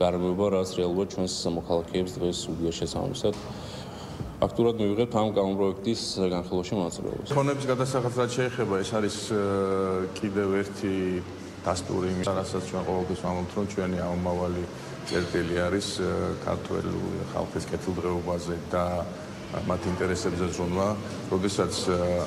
გარემოება, რაც რეალურად ჩვენს მოქალაქეებს დღეს უდია შესაბამისად აქტიურად მივიღებთ ამ კანონპროექტის განხილვაში მონაწილეობას. ფონების გადასახადს რაც შეეხება, ეს არის კიდევ ერთი დასტური, რასაც ჩვენ ყოველთვის ვამბობთ, რომ ჩვენი ამომავალი წერტილი არის ქართველი ხალხის კეთილდღეობაზე და მათ ინტერესებზე ზრუნვა, როდესაც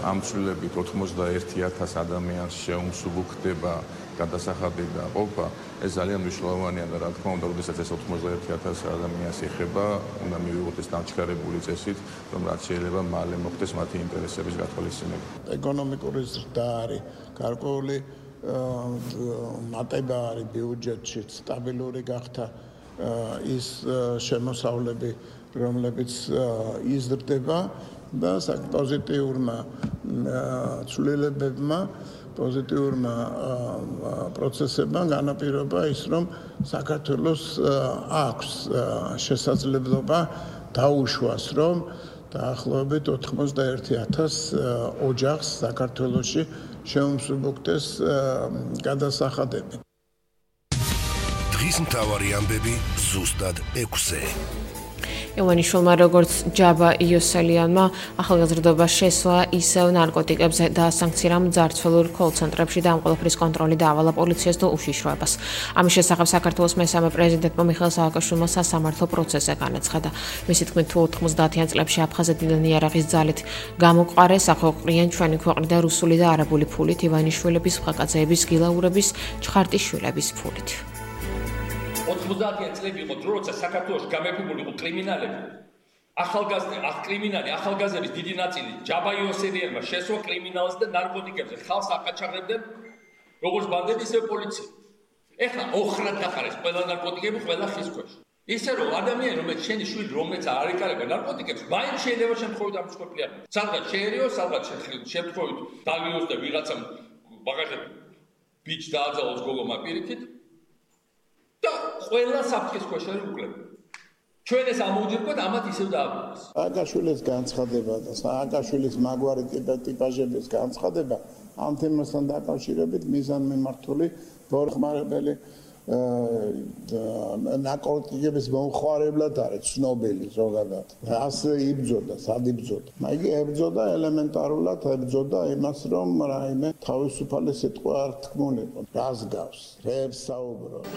ამ ცვლილებით 91,000 ადამიანს შეუმსუბუქდება გადასახადი და ყოფა, ეს ძალიან მნიშვნელოვანია და რა თქმა უნდა, როდესაც ეს 91,000 ადამიანს ეხება, უნდა მივიღოთ ეს დამჩქარებული წესით, რომ რაც შეიძლება მალე მოხდეს მათი ინტერესების გათვალისწინება. ეკონომიკური ზრდა არის გარკვეული მატება არის ბიუჯეტში, სტაბილური გახდა ის შემოსავლები, რომლებიც იზრდება და პოზიტიურმა ცვლილებებმა, პოზიტიურმა პროცესებმა განაპირობა ის, რომ საქართველოს აქვს შესაძლებლობა დაუშვას, რომ დაახლოებით 91,000 ოჯახს საქართველოში შეუმსუბუქდეს გადასახადები. დღის მთავარი ამბები ზუსტად 6-ზე. ივანიშვილმა როგორც ჯაბა იოსელიანმა ახალგაზრდობა შესვა ისევ ნარკოტიკებზე და სანქცირამ ძარცველურ კოლ-ცენტრებში და ამ ყველაფრის კონტროლი დაავალა პოლიციას და უშიშროებას. ამის შესახებ საქართველოს მესამე პრეზიდენტმა მიხეილ სააკაშვილმა სასამართლო პროცესზე განაცხადა. მისი თქმით, თუ 90-იან წლებში აფხაზეთიდან იარაღის ძალით გამოყარეს, ახოყრიან ჩვენი ქვეყნიდან რუსული და არაბული ფულით, ივანიშვილების, ხაკაძეების, გილაურების, ჩხარტიშვილების ფულით. 90-იან წლები იყო დრო, როცა საქართველოში გამეფებული იყო კრიმინალები. ახალგაზრდების დიდი ნაწილი ჯაბა იოსელიანმა შესვა კრიმინალს და ნარკოტიკებზე ხალხს აკაჩაღებდნენ, როგორც ბანდები, ისე პოლიცია. ეხლა ოხრად დახარეს ყველა ნარკოტიკები, ყველა ხის ქვეშ. ისე რომ ადამიანი, რომელიც შენი შვილი, რომელიც არ იკარება ნარკოტიკებს, მაინც შეიძლება შემთხვევით ამსხვერპლია. სადღაც შეერიოს, სადღაც შემთხვევით დალიოს და ვიღაცამ მაგალითად ბიჭ დააძალოს გოგომა პირიქით. და ყველა საფრთხის ქვეშ არის უკლება. ჩვენ ეს ამოვიძებთ, ამათ ისევ დააბრუნდეს. სააკაშვილის განცხადება და სააკაშვილის მაგვარი ტიპაჟების განცხადება ამ თემასთან დაკავშირებით მიზანმიმართული ბორხმარებელი ნარკოტიკების მომხმარებლად არის ცნობილი ზოგადად. ასე იბრძოდა, სად იბრძოდა. მაგი ებრძოდა ელემენტარულად, ებრძოდა იმას, რომ რაიმე თავისუფალი სიტყვა არ თქმულიყო. რას გავს? რებს საუბრობს?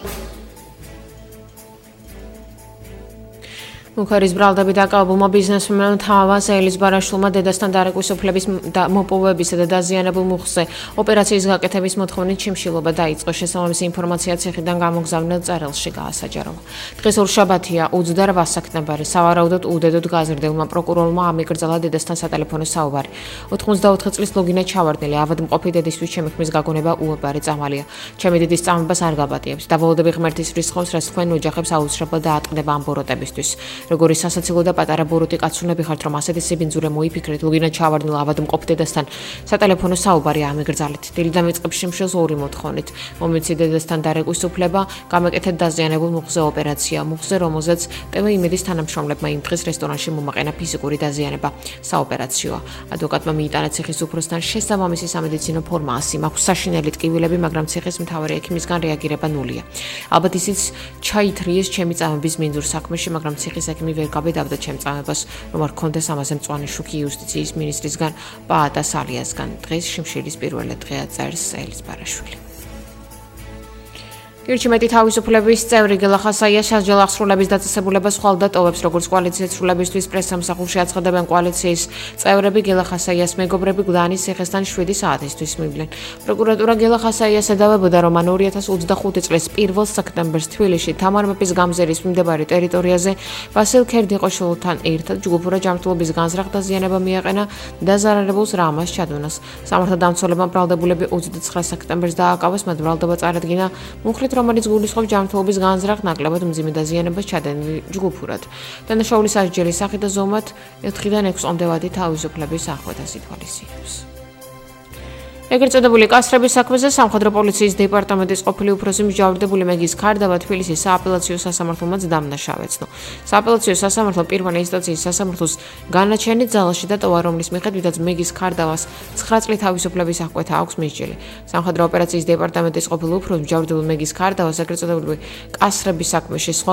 მუხარის ბრალდები დაკავებულმა ბიზნესმენმა თავას ელიზბარაშვილმა დედასთან დარეკვის უფლების მოპოვებისა და დაზიანებულ მუხზე ოპერაციის გაკეთების მოთხოვნით შიმშილობა დაიწყო. შესაბამისი ინფორმაცია ციხიდან გამოგზავნილ წერილში გაასაჯაროვა. დღეს ორშაბათია 28 სექტემბერი. სავარაუდოდ უდედოდ გაზრდილმა პროკურორმა ამიკრძალა დედასთან სატელეფონო საუბარი. 94 წლის ლოგინა ჩავარდნილი ავადმყოფი დედისთვის ჩემი ხმის გაგონება უებარი წამალია. ჩემი დედის წამებას არ გაბატიებს. დაბოლოები ღმერთის რისხავს, რაც თქვენ ოჯახებს აუცილებლად დაატყდება ამ ბოროტებისთვის. როგორი სასაცილო და პატარა ბოროტი კაცუნები ხართ, რომ ასეთი სიბინძურე მოიფიქრეთ, ლოგინა ჩავარდნილ ავადმყოფ დედასთან სატელეფონო საუბარი ამიგრძალეთ. დილიდან ვიწყებ შიმშილს ორი მოთხოვნით. მომიცი დედასთან დარეკვის უფლება, გამეკეთეთ დაზიანებულ მუხზე ოპერაცია, მუხზე, რომელზეც ტევ იმედის თანამშრომლებმა იმ დღეს რესტორანში მომაყენა ფიზიკური დაზიანება. საოპერაციოა. ადვოკატმა მიიტანა ციხის უფროსთან შესაბამისი სამედიცინო ფორმა 100 მაქვს საშინელი ტკივილები, მაგრამ ციხის მთავარი ექიმისგან რეაგირება ნულია. ალბათ ისიც ჩაითრიეს ჩემი წამების მინძურ საქმეში, მაგრამ ციხის ექიმი ვერ გაბედავდა ჩემ წამებას, რომ არ ქონდეს ამაზე მწვანე შუქი იუსტიციის მინისტრისგან, პაატა სალიასგან. დღეს შიმშილის პირველი დღეა, წერს ელიზბარაშვილი. გირჩიმეტი თავისუფლების წევრი გელა ხასაია სასჯელ აღსრულების დაწესებულებას ხვალ და ტოვებს, როგორც კოალიციის სრულებისთვის პრესსამსახურში აცხადებენ კოალიციის წევრები. გელა ხასაიას მეგობრები გლანის ციხესთან 7 საათისთვის მივდნენ. პროკურატურა გელა ხასაიას ედავებოდა, რომ მან 2025 წლის 1 სექტემბერს თბილისში თამარ მეფის გამზერის მიმდებარე ტერიტორიაზე ვასილ ქერდიყოშვილთან ერთად ჯგუფურა ჯანმრთელობის განზრახ დაზიანება მიაყენა და ზარალებულს რამას ჩადუნას. სამართალდამცველებმა ბრალდებულები 29 სექტემბერს დააკავეს, მათ ბრალდება წარადგინა მუხლით, რომელიც გულისხმობს ჯანმრთელობის განზრახ ნაკლებად მძიმე დაზიანებას ჩადენილი ჯგუფურად. დანაშაულის სასჯელის სახით და ზომად 4-დან 6 წლამდე ვადი თავისუფლების აღკვეთას ითვალისწინებს. ეგრეთ წოდებული კასრების საქმეზე სამხედრო პოლიციის დეპარტამენტის ყოფილი უფროსი მსჯავრდებული მეგის ქარდავა თბილისის სააპელაციო სასამართლომაც დამნაშავეცნო. სააპელაციო სასამართლო პირველი ინსტანციის სასამართლოს განაჩენით ძალაში დატოვა, რომლის მიხედვითაც მეგის ქარდავას 9 წლით თავისუფლების აღკვეთა აქვს მისჯილი. სამხედრო ოპერაციის დეპარტამენტის ყოფილი უფროსი მსჯავრდებულ მეგის ქარდავას ეგრეთ წოდებული კასრების საქმეში სხვა